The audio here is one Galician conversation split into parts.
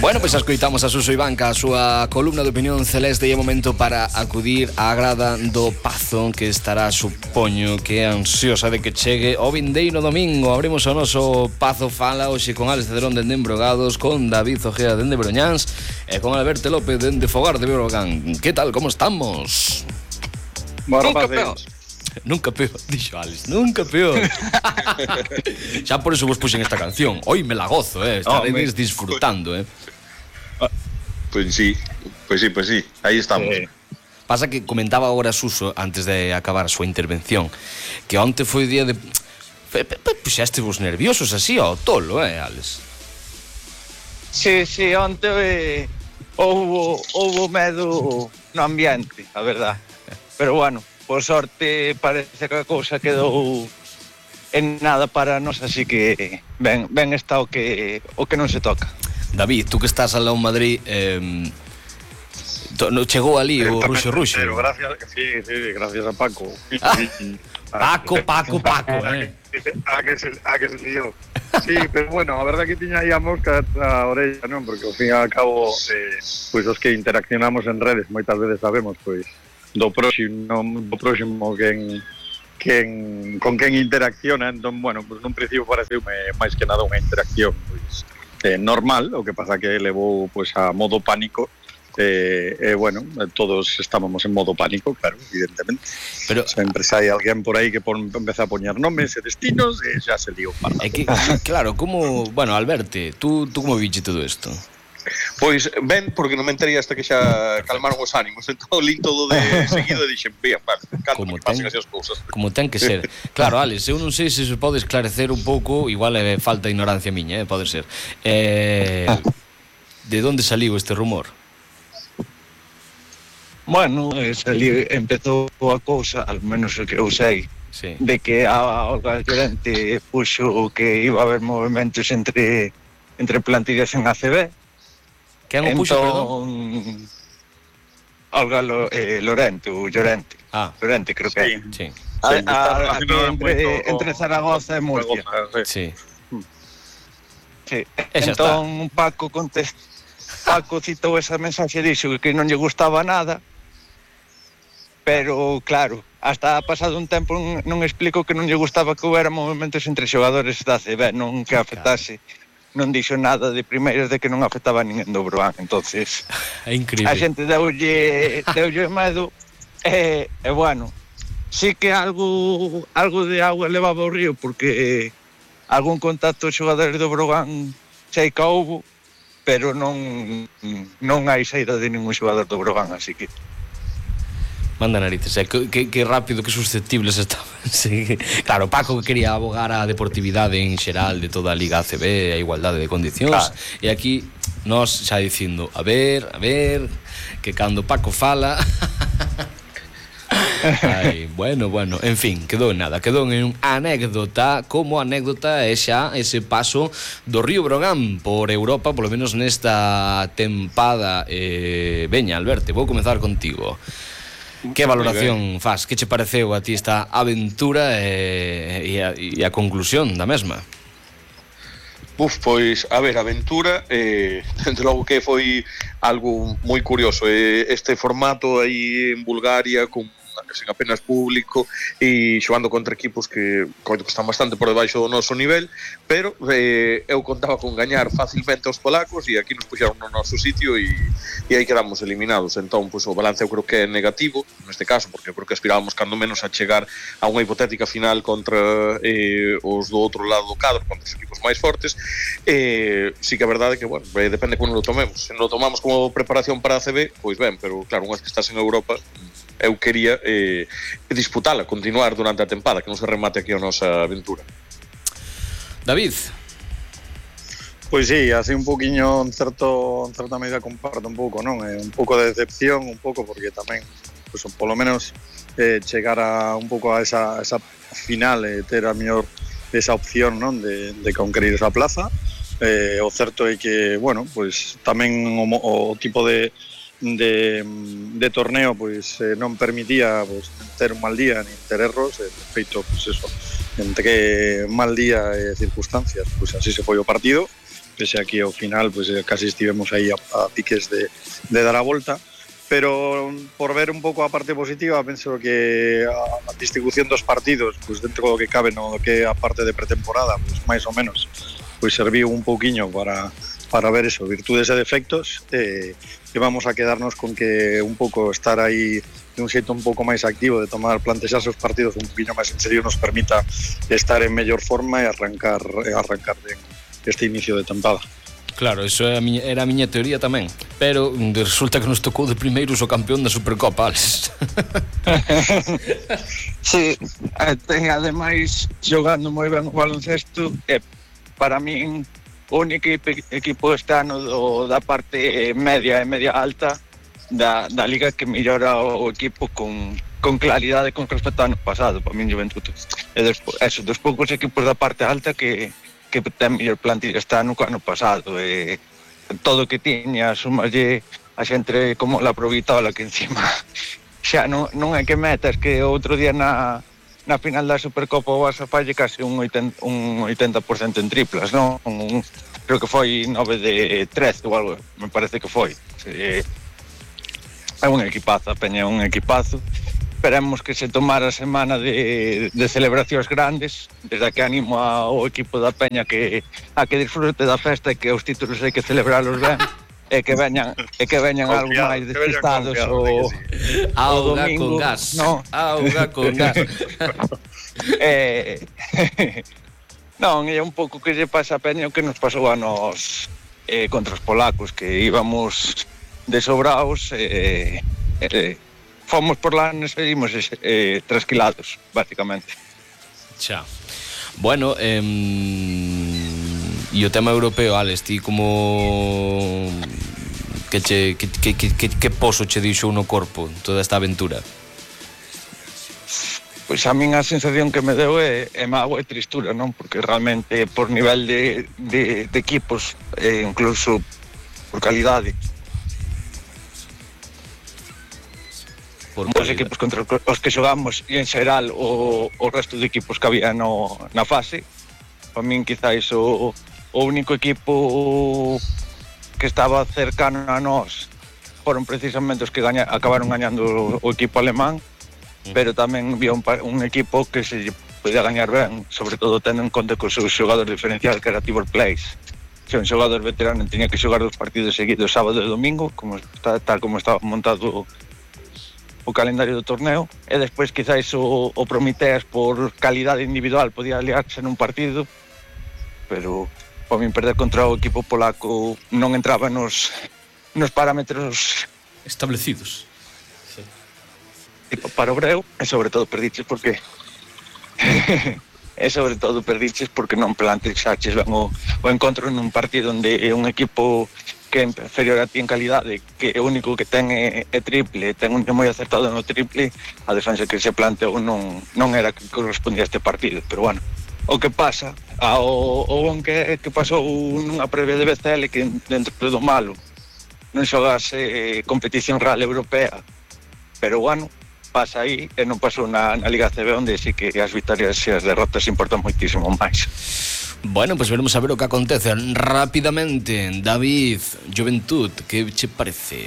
Bueno, pois escoitamos a Suso Ivanca, a súa columna de opinión celeste, e é momento para acudir á grada do Pazo, que estará, supoño, que é ansiosa de que chegue o vindeiro domingo. Abrimos o noso Pazo Fala hoxe con Alex Cederón dende Embrogados, con David Ojea dende Broñáns e con Alberto López dende Fogar de Breogán. Que tal, como estamos? Nunca peor. Nunca peor, dixo Alex, nunca peor. Xa por eso vos puxen esta canción. Hoy me la gozo, estaredes disfrutando, Pues sí, aí estamos. Pasa que comentaba agora Suso, antes de acabar a súa intervención, que onte foi o día de... Puxaste vos nerviosos así ao tolo, Alex? Sí, onte houbo medo no ambiente, a verdad. Pero bueno, por sorte parece que a cousa quedou en nada para nós, así que ben está o que non se toca. David, tú que estás alá en Madrid, chegou ali o Ruxo. Gracias, sí, gracias a Paco. Paco, A que se lió. Sí, pero bueno, a verdad que tiña aí a mosca a orella, non? Porque ao fin e ao cabo, pois os que interaccionamos en redes moitas veces sabemos, pois, do próximo con quen interacciona. Entón, bueno, pois nun principio pareceume máis que nada unha interacción, pois, normal, o que pasa que levou pois a modo pánico. Bueno, todos estábamos en modo pánico, claro, evidentemente. Pero sempre sai alguén por aí que empeza a poñer nomes e destinos e xa se liou para. É que, claro, como... Bueno, Alberto, tú como viche todo isto? Pois ben, porque non me enterei hasta que xa calmaron os ánimos. Entón li todo de seguido e dixen, bien, vale, canto que pasen así as cousas. Como ten que ser. Claro, Alex, eu non sei se se pode esclarecer un pouco, igual é falta de ignorancia miña, pode ser. De onde saliu este rumor? Bueno, empezou a cousa, al menos o que eu sei, sí, de que a Olga Llorente puxo que iba a haber movimentos entre plantillas en ACB. Quen o puxo, perdón? Olga Llorente. Llorente, creo que é. Sí. Entre Zaragoza e Murcia. Sí. Entón Paco citou esa mensaxe e dixo que non lle gustaba nada, pero claro, hasta pasado un tempo non explico que non lle gustaba que houbera movimentos entre xogadores da ACB, non que afectase. Non dixo nada de primeiras de que non afectaba a ninguén do Broán. Entonces é increíble. A xente deulle medo e bueno, sí que algo de agua levaba o río, porque algún contacto de xogadores do Broán sei que houbo, pero non hai saída de ningún xogador do Broán, así que manda narices, que rápido, que susceptibles estaban. Sí. Claro, Paco que quería abogar a deportividade en xeral de toda a Liga ACB, a igualdade de condicións, claro. E aquí nós xa dicindo, a ver, que cando Paco fala... Ai, bueno, en fin, quedou en nada, quedou en anécdota, como anécdota é xa ese paso do Río Brogan por Europa, polo menos nesta tempada. Veña, Alberto, vou comezar contigo. Que valoración faz? Que che pareceu a ti esta aventura e a conclusión da mesma? Pois, a ver, a aventura, desde logo que foi algo moi curioso. Este formato aí en Bulgaria, con sen apenas público e xogando contra equipos que están bastante por debaixo do noso nivel, pero eu contaba con gañar facilmente aos polacos e aquí nos puxeron no noso sitio e aí quedamos eliminados. Entón, pois, o balance eu creo que é negativo neste caso, porque creo que aspirábamos cando menos a chegar a unha hipotética final contra os do outro lado do cadro, contra os equipos máis fortes. Sí que a verdade é que, bueno, depende como lo tomemos. Se non lo tomamos como preparación para a ACB, pois ben, pero claro, unhas que estás en Europa, eu quería disputala, continuar durante a tempada, que non se remate aquí a nosa aventura. David? Pois sí, así un poquinho, en certa medida comparto un pouco, non? Un pouco de decepción, un pouco, porque tamén, pues, polo menos, chegar a un pouco a esa final, ter a mellor esa opción, non? De conquerir esa plaza. O certo é que, bueno, pues tamén o tipo de torneo pois non permitía pois ter un mal día nin ter erros, de feito, pois eso, entre mal día e circunstancias, pois así se foi o partido pese a que ao final pues, casi estivemos aí a piques de dar a volta. Pero por ver un pouco a parte positiva, penso que a distribución dos partidos, pues dentro do que cabe no que a parte de pretemporada, pues máis ou menos, pues serviu un pouquiño para ver eso, virtudes e defectos, e vamos a quedarnos con que un pouco estar aí de un xeito un pouco máis activo, de tomar plantexarse os partidos un poquinho máis en serio, nos permita estar en mellor forma e arrancar ben este inicio de tempada. Claro, eso era a miña teoría tamén. Pero resulta que nos tocou de primeiros o campeón da Supercopa, Alex. Sí, ademais xogando moi ben o baloncesto, para min o único equipo este ano da parte media e media alta da liga que mellora o equipo con claridade con respecto ao ano pasado, para min Juventud. E despois, dos poucos equipos da parte alta que ten mellor plantilla este ano que ano pasado, e todo o que tiña, sumalle a xente como la Provitola, que encima xa non é que metas, que outro día na final da Supercopa o Barça falle casi un 80% en triplas, non? Creo que foi 9 de 13 ou algo, me parece que foi. É un equipazo, a Peña é un equipazo. Esperemos que se tomara a semana de celebracións grandes, desde que animo ao equipo da Peña a que disfrute da festa e que os títulos hai que celebralos ben, e que veñan algo máis despistados o domingo. Con gas. No. Auga con gas. Non, é un pouco que lle pasa a Peña o que nos pasou a nos contra os polacos, que íbamos desobraos fomos por lá, nos seguimos trasquilados, básicamente. Xa. Bueno, e o tema europeo, Alex, ti como que poso che dixo no corpo toda esta aventura? Pois a min a sensación que me deu é mágoa e tristura, non? Porque realmente por nivel de equipos, incluso por calidade, os equipos contra os que xogamos e en xeral o resto de equipos que había na fase, para min quizáis o único equipo que estaba cercano a nós foron precisamente os que acabaron gañando o equipo alemán, pero tamén había un equipo que se podía gañar ben, sobre todo tendo en conta que o seu xogador diferencial, que era Tibor Place, que un xogador veterano tenía que xogar 2 partidos seguidos, sábado e domingo, tal como estaba montado o calendario do torneo, e despois quizáis o Prometeas por calidade individual podía aliarse nun partido, pero para min perder contra o equipo polaco non entraba nos parámetros establecidos. Sí. Tipo para o Breu, e sobre todo perdiches porque non plantexaches ben o encontro nun partido onde é un equipo que é inferior a ti en calidade, que o único que ten é triple, ten un moi acertado no triple, a defensa que se planteou non era que correspondía a este partido, pero bueno, o que pasa, o bon que pasou nunha previa de BCL, que dentro do malo non xogase competición real europea, pero bueno, pasa aí e non pasou na Liga CB, onde sí que as vitorias e as derrotas importan moitísimo máis. Bueno, pues veremos a ver o que acontece rápidamente. David, Juventud, que che parece?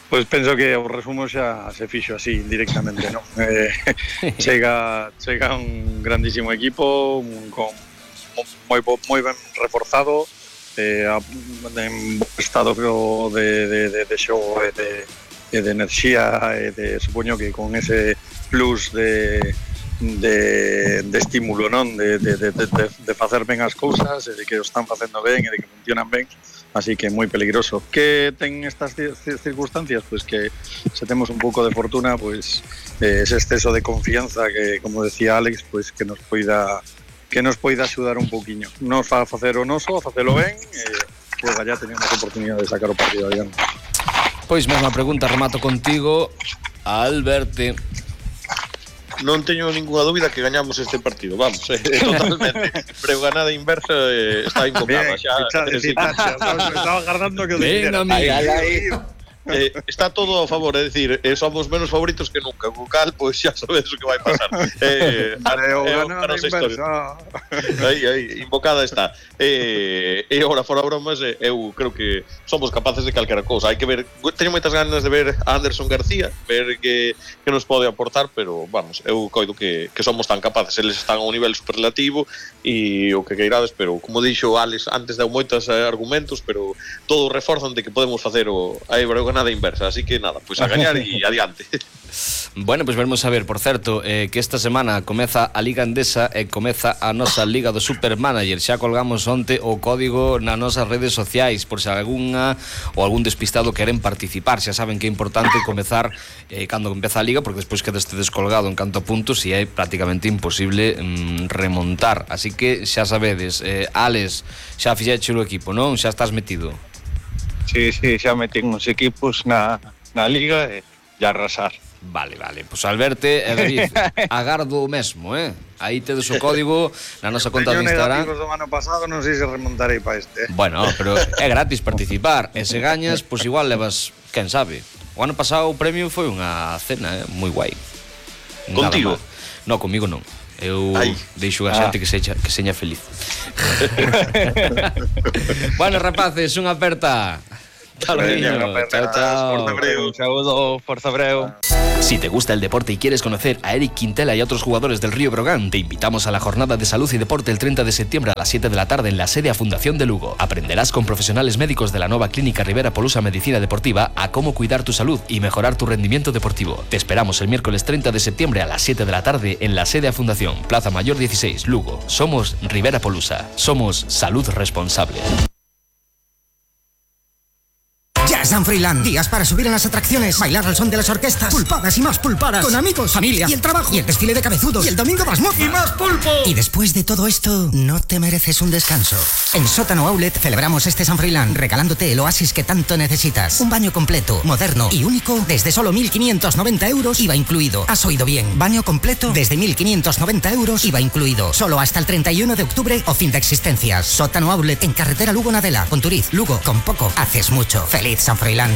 Pois penso que o resumo xa se fixo así directamente, non? Chega un grandísimo equipo con moi ben reforzado, en estado de xogo e de enerxía, e supoño que con ese plus de estímulo, non? De facer ben as cousas, e de que o están facendo ben e de que funcionan ben, así que moi peligroso. Que ten estas circunstancias? Pois que se temos un pouco de fortuna, pois ese exceso de confianza que, como decía Alex, pois que nos poida axudar un pouquiño. Nos fa facer o noso, facelo ben, e ya tenemos oportunidade de sacar o partido adiante. Pois mesma pregunta, remato contigo, Alberto. Non teño ninguna dúbida que gañamos este partido, vamos, totalmente. Preuganada inversa está incomplada xa. Estaba agardando que o dixera. está todo a favor, é dicir, somos menos favoritos que nunca, co cal, pois xa sabedes o que vai pasar. A nosa historia. Aí, invocada está. E agora, fora bromas, eu creo que somos capaces de calquera cousa. Hai que ver, teño moitas ganas de ver a Anderson García, ver que nos pode aportar, pero, vamos, eu coido que somos tan capaces, eles están a un nivel superlativo e o que queirades, pero, como dixo Alex, antes deu moitos argumentos, pero todos reforzan de que podemos facer a Breogán inversa, así que nada, pois a gañar e adiante. Bueno, pois veremos a ver, por certo, que esta semana comeza a Liga Endesa e comeza a nosa Liga do Supermanager. Xa colgamos onte o código nas nosas redes sociais, por se algunha ou algún despistado queren participar. Xa saben que é importante comezar cando empeza a Liga, porque despois quedaste descolgado en canto a puntos e é prácticamente imposible remontar. Así que xa sabedes, Alex, xa fixeche o equipo, non? Xa estás metido? Sí, xa metín uns equipos na Liga e arrasar. Vale, pois Alberte e David, agardo o mesmo, Aí tedes o código na nosa conta de Instagram. Teño negativos do ano pasado, non sei se remontarei para este. Bueno, pero é gratis participar, e se gañas, pois igual levas, quen sabe. O ano pasado o premio foi unha cena, moi guai. Contigo? No, comigo non. Eu deixo a xente que seña feliz. Bueno, rapaces, unha aperta. Chao, Un saludo, Forza Breu. Si te gusta el deporte y quieres conocer a Eric Quintela y a otros jugadores del Río Brogan, te invitamos a la jornada de salud y deporte el 30 de septiembre a las 7 de la tarde en la sede a Fundación de Lugo. Aprenderás con profesionales médicos de la nueva clínica Rivera Polusa Medicina Deportiva a cómo cuidar tu salud y mejorar tu rendimiento deportivo. Te esperamos el miércoles 30 de septiembre a las 7 de la tarde en la sede a Fundación, Plaza Mayor 16, Lugo. Somos Rivera Polusa. Somos salud responsable. San Froilán. Días para subir en las atracciones, bailar al son de las orquestas, pulpadas y más pulpadas, con amigos, familia y el trabajo, y el desfile de cabezudos, y el domingo más moza, y más pulpo. Y después de todo esto, ¿no te mereces un descanso? En Sótano Outlet celebramos este San Froilán regalándote el oasis que tanto necesitas. Un baño completo, moderno y único desde solo 1.590 euros, IVA incluido. Has oído bien, baño completo desde 1.590 euros, IVA incluido. Solo hasta el 31 de octubre o fin de existencias. Sótano Outlet en carretera Lugo-Nadela, Conturiz, Lugo. Con poco haces mucho. Feliz San Froilán.